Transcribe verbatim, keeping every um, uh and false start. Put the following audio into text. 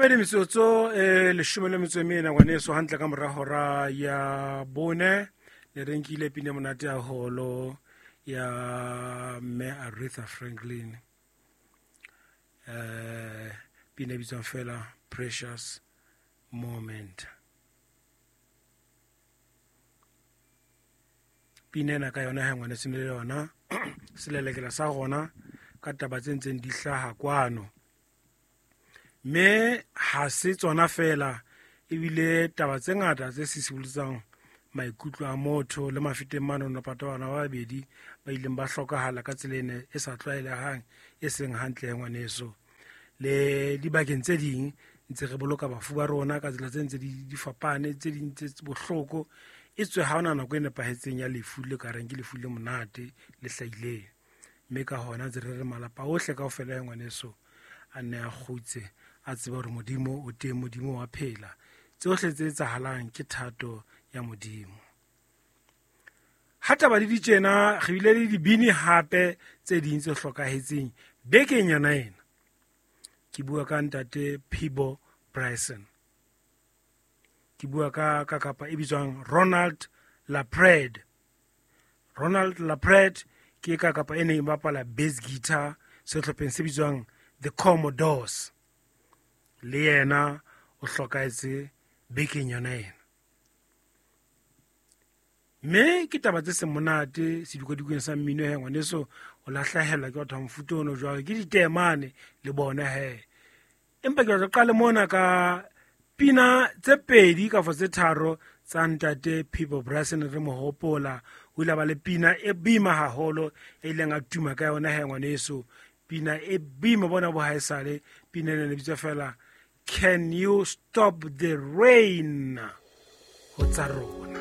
Mamedi metsotso e leshome le metso e mene ngwaneso hantle ka mora hora ya bone ne re nkile pina e monate haholo ya mme Aretha Franklin, eh pina e bitswang fela Precious Moment. Pina ena ka yona ha ngwaneso ne le yona selelekela sa rona ka taba tse ntseng di hlaha kwano. Mme ha se tsona fela, ebile taba tse ngata tse sisiboletsang maikutlo a motho le mafeteng mano no pata bana ba babedi ba ileng ba hlokahala ka tsela ene e sa tlwaelehang e seng hantle ngwaneso. Le dibakeng tse ding ntse re boloka bafu ba rona ka tsela tse ntse di di fapane, tse ding tse bohloko, e tswe ha hona nako e nepahetseng ya lefu le ka reng ke lefu le monate le hlahileng. Mme ka hona ntse re re malapa ohle kaofela ya ngwaneso a nne a kgutse, a tseba hore Modimo o teng, Modimo wa phela. Tsohle tse etsahalang ke thato ya Modimo. Ha taba di di tjena, re bile le dibini hape tse ding tse hlokahetseng bekeng yona ena. Ke bua ka ntate Peabo Bryson. Ke bua ka ka kapa e bitswang Ronald LaPread. Ronald LaPread ke ka kapa e neng e bapala bass guitar sehlopheng se bitswang The Commodores. Le yena o hlokahetse bekeng yona ena. Mme ke taba tse seng monate sedikwadikong sa mmino he ngwaneso, o lahlehelwa ke batho ba mofuta ono jwalo, ke ditemane le bona he. Empa ke batla qale mona ka pina tse pedi kapa tse tharo tsa ntate Peabo Bryson re mo hopola. O ile a ba le pina e boima haholo e ileng a tuma ka yona he ngwaneso. Pina e boima bona bo haesale, pina ena e bitswa fela Can You Stop the Rain? Ho tsa rona.